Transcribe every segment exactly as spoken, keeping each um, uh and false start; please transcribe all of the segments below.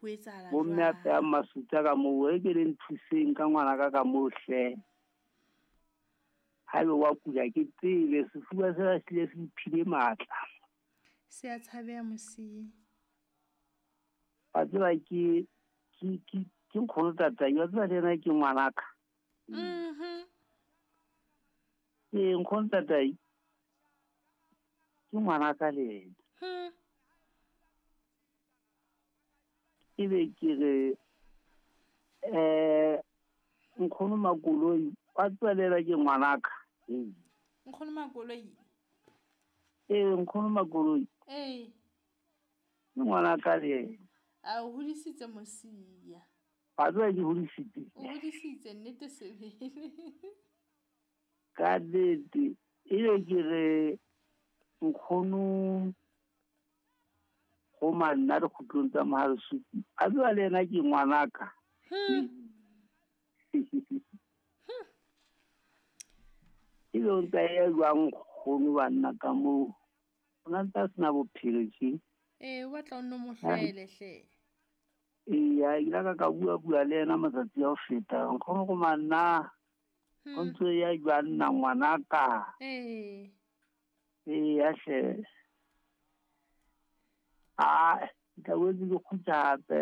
Ho etsahala Bo mme a jwang? pheha masutsa ka moo, e ke le nthuseng ka ngwana ka ka moo hle. Haebe wa kula ke tsebe, sefuba sena se hlile se mphile matla. Se a tshabeha Mosia. Wa tseba ke ke ke ke nkgono tatai, wa tseba le yena ke ngwanaka. Mhm. Ee, nkgono tatai ke ngwanaka le yena. Hmm. Ebe ke re eh nkgono Makoloi, wa tseba le yena ke ngwanaka. Ee. Nkgono Makoloi? Ee, nkgono Makoloi. Ee. Ke ngwanaka le yena. A o hodisitse Mosia. Wa tseba ke hodisitse. O hodisitse nnete sebele. Ka nnete, ebe ke re nkgono go manna dikgutlong tsa Mohalesuku, a tseba le yena ke ngwanaka. Hmm. Ebe o ntsa ya jwang nkgono banna ka moo? O na ntse a sena bophelo tje. Ee, o batla o nno mo hlwele hle. Eya, ke ile ka ka bua bua le yena matsatsi a ho feta. Nkgono go manna, o Hmm. ntse ya jwang nna ngwanaka? Ee. Eya hle. Ah, ke tla boetse ke kgutla hape.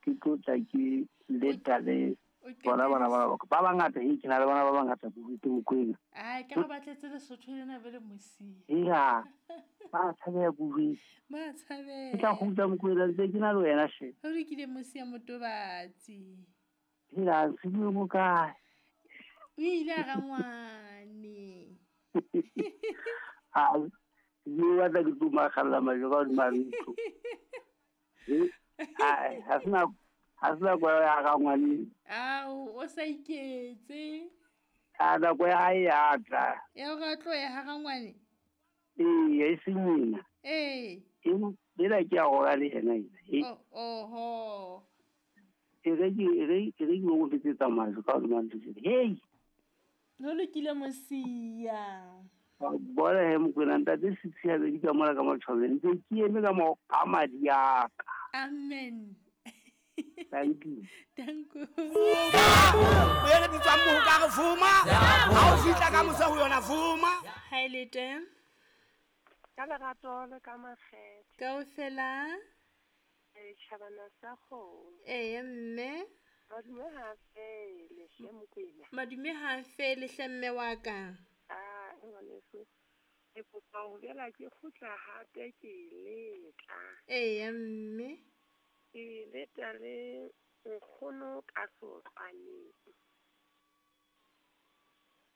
Ke tlo tla ke leta le O bona bana ba qetelletse. ba bangata, hei, ke na le bana ba bangata ke Mokwena. Ai, ka re batletse Lesotho lena be le Mosia. Eya, ba tshabeha kudu. Ba Ke tla tshabeha. kgutla Mokwena ntse ke na le wena hle. Ho lokile Mosia Motobatsi. Hela, se bue mo kae? O ile a rangwane. Ah, ke batla ke tlo makgalla majwe ka hodima ntlo. Eh, ai, ha se nako, ha se nako ya rangwane. Ao, o sa iketse. A nako ya hae ya tla. Ya hore a tlohe ha rangwane? Ee, e seng ena. Ee. Ena ke ya rola le yena ena. E. Oh, oho. E re ke, e re, e re ke mo betsetsa majwe ka hodima ntlo. Hei. Ho lokile Mosia. Wa bona he Mokwena, ntate Sitsi a bedi ka mola ka matjhwabeng. Ntse ke eme ka mo ka madi a ka. Amen. Thank you. Thank you. O ele bitswang moho ka re vuma. Ha o fihla ka mose ho yona vuma. Ha e le teng? Ka lerato le ka makgethe. Kaofela? E tjhabana sa kgomo. Ee, mme. Madume ha fele hle Mokwena. Madume ha fele hle mme wa ka. Ah, ngwaneso. Ke kopa ho boela ke kgutla hape ke letla. Ee, mme. Ke leta le nkgono ka sotlwaneng.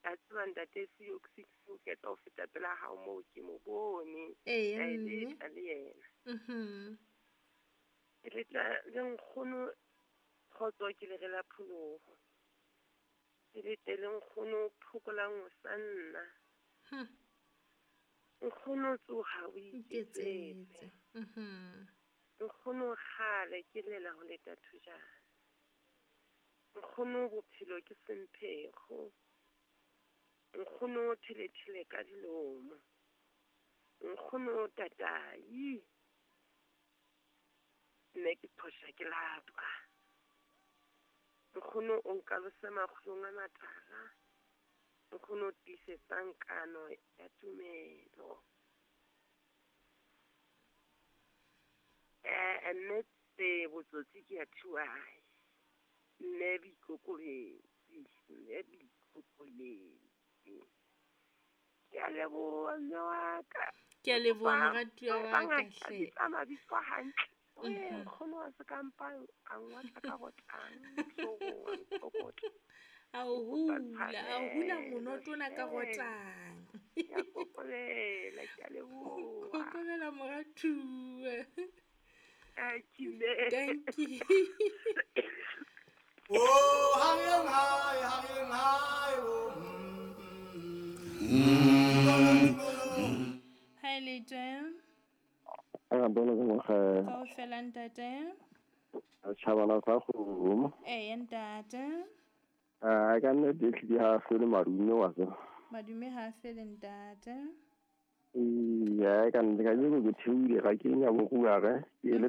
A tseba ntate Sio six o ketsa ho feta pela hao moo ke mo bone. Ee, Ka e mme. letla le yena. Mhm. Ke letla le nkgono kgotso ke le re la pholoho. Ke lete le nkgono phokolang ho sa nna. Hmm. Nkgono tsoha o iketsetse. Iketsetse. Mhm. Nkgono kgale ke lela ho leta thojana. Nkgono bophelo ke semphego. Nkgono thelethele ka dilomo. Nkgono tatai. Nne ke phosha ke lapa. Nkgono o nkalose makgulong a matala. Nkgono o tiisetsang kano ya tumelo. Eh, mme tse botsotsi ke ya thuae. Mme boikokobetsi, mme boikokobetsi. Ke a leboha mme wa ka. Ke a leboha Ba- moratuwa ba wa ka bangata hle. bitsa mabitso hantle. Ee, Mhm. nkgono wa sekampang a ngwatla ka rotang, hloohong, a nkokotla. A o Ke kopa hula, a o hula tshwarelo, monoto ona ka hle. rotang. Ke a kokobela, ke a leboha. Kokobela moratuwa. Thank you, mme. Thank you. Oh, hareng hae, hareng hae, oh, mm, mm. Ha e le teng? A bona ke ngwaga. Kaofela ntate. Tjhabana sa kgomo. Ee, ntate. Ah, ka nnete ehlile ha fele madume wa tseba. Madume ha fele ntate. Ee, ka nnete kajeno ke theohile ga ke nya borua ge, ke le